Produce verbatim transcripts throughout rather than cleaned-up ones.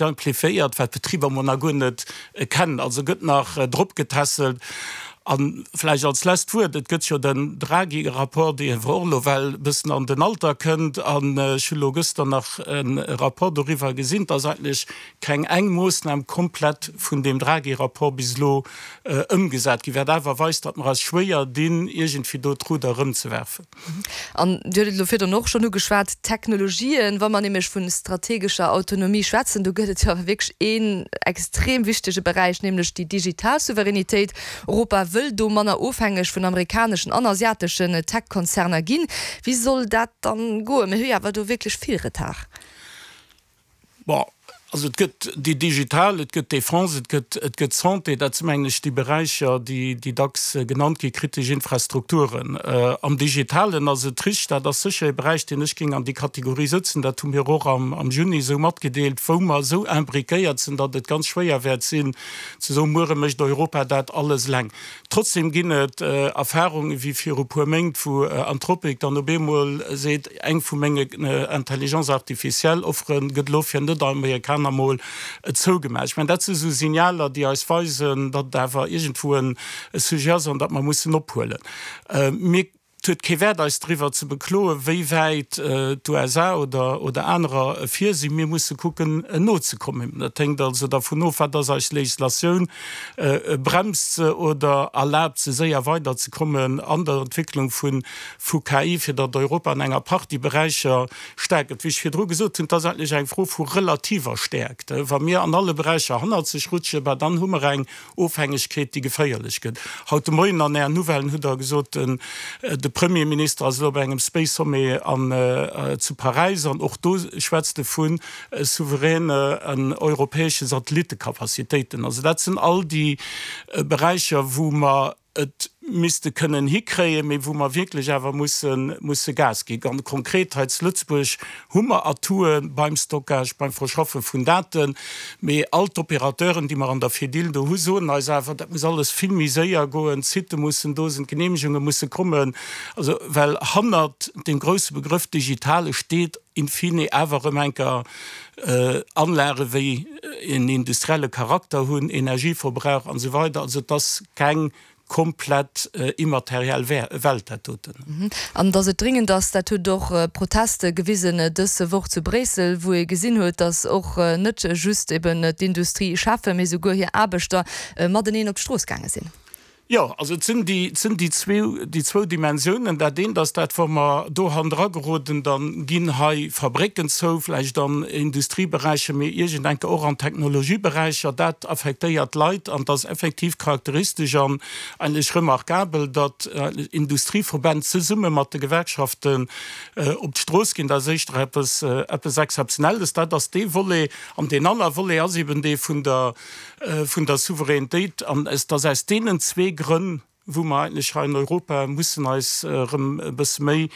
simplifiéiert, wat d'Betriber mol nach guer net kennen. Also gëtt nach drop getässelt. A vläicht als lescht Wuert, Et gëtt jo den Draghi-Rapport, dee awer och elo well e bëssen an den Alter kënnt. An ech hu lo gëschter nach e Rapport doriwwer gesinn, dass eigentlech keng eng Moossnam komplett vun deem Draghi-Rapport bis elo ëmgesat gi, wat awer weist, datt mer eis schwéier dinn, iergendwéi do d'Rudder erëmzewerfen. An Dir hutt et elo virdrun och schonn ugeschwat, d'Technologien. Wa mer nämlech vu strategescher Autonomie schwätzen, do gëtt et jo awer wierklech een extrem wichtege Beräich, nämlech déi digital Souveränitéit. Europa wëll do manner ofhängeg vun amerikaneschen an asiateschen Tech-Konzerner ginn. Wéi soll dat dann goen? Mir hu jo awer do wierklech vill Retard. Bon, also et gëtt déi digital, et gëtt d'Defense, et gëtt, et gëtt d'Santé. Dat si mengen ech déi Beräicher, déi, déi dacks genannt gi kritesch Infrastrukturen. Am Digitalen ass et richteg, dat ass sécher e Beräich, deen ech géing an déi Kategorie sëtzen, dat hu mir och am, am Juni esou matgedeelt, wou mer esou imbriquéiert sinn, datt et ganz schwéier wäert sinn ze soen, muere mécht Europa dat alles eleng. Trotzdem ginn et Erfahrungen, wéi viru puer Méint, wou Anthropic dann op eemol seet, eng vu menge Intelligence artificielle Offere gëtt elo fir Net-Amerikaner mol zougemaach. Ech mengen, dat si sou Signaler, déi eis weisen, datt et awer iergendwou e Sujet ass an datt mer mussen ophuelen. Mir Et huet kee Wäert eis driwwer ze bekloen, wéi wäit d'USA oder anerer vir sinn. Mir musse kucken nozekommen. Dat hänkt also dervun of, wat ass eis Législatioun, bremst se oder erlaabt se séier weiderzekommen an der Entwécklung vu K I, fir datt Europa an enger Partie Beräicher staark gëtt. Wéi ech virdru gesot hunn, et ass eigentlech eng Fro vu relativer Stäerkt. Wa mir an alle Beräicher hannerzeg rutschen, bah dann hu mer eng Ofhängegkeet, déi geféierlech gëtt. Haut de Moien an Ären Nouvellen hutt Der gesot, de Premierminister ass elo op engem Space Sommet an zu Paräis an och do schwätzt e vu souveräne europäesche Satellittecapacitéiten. Also dat sinn all déi Beräicher, wou mer et misste kënnen hikréien, mee wou mer wierklech awer musse Gas ginn. Ganz konkret hei zu Lëtzebuerg hu mer Atoue beim Stockage, beim Verschaffe vun Daten, mee all d'Opérateuren, déi mer an der Fedil do hu soen eis awer, dat muss alles vill méi séier goen, d'Sitte mussen do sinn, d'Genehmegunge musse kommen. Also, well hannert deem grouse Begrëff Digitale steet in fine awer erëm eng Kéier Anlage wéi en industrielle Charakter hunn, Energieverbrauch an esou weider. Also et ass keng komplett immateriell Welt dat doten. An datt et dringend ass, dat huet och Proteste gewisen dës Woch zu Bréissel, wou ee gesinn huet, datt och net just eben d'Industriecheffen, mee souguer hir Aarbechter mateneen op d'Strooss gaange sinn. Jo, also et sinn déi, et sinn déi zwee, déi zwou Dimensiounen. Dat eent ass dat, wa mer do hannendra geroden, da ginn hei Fabrécken zou, vläicht an Industrieberäicher, mee iergendenke och an Technologieberäicher. Dat affektéiert d'Leit an et ass effektiv charakteristesch an eigentlech remarkabel, datt Industrieverbänn zesumme mat de Gewerkschaften op d'Strooss ginn. Dat ass éischter eppes, eppes Exzeptionelles. Dat ass dee Volet. An deen aner Volet ass eben dee vun der, vun der Souveränitéit. An et ass aus deenen zwee Grënn, wou mer eigentlech hei an Europa mussen eis erëm e bësse méi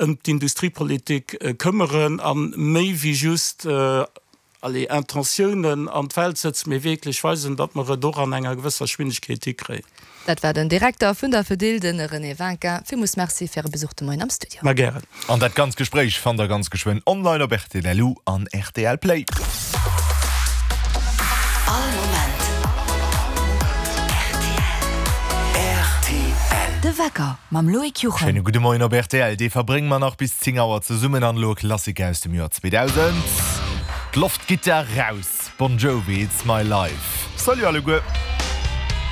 ëm d'Industriepolitik këmmeren a méi wéi just, allez, Intentiounen an d'Welt sëtzen, mee wierklech weisen, datt mer et och an enger gewësser Geschwindegkeet hikréien. Dat war den Direkter vun der Fedil, de René Winkin. Villmools Merci fir Äre Besuch de Moien am Studio. Ma gären. An dat ganzt Gespréich fannt der ganz geschwënn online op rtl an rtl Play. All Moment rtl. De Wecker mam Loïc Juchem. Schéine gudde Moien op rtl. Dee verbrénge mer nach bis zéng Auer zesummen an elo e Klassiker aus dem Joer zweedausend. D'Loft gitt der raus, Bon Jovi, It's My Life. Salut alleguer!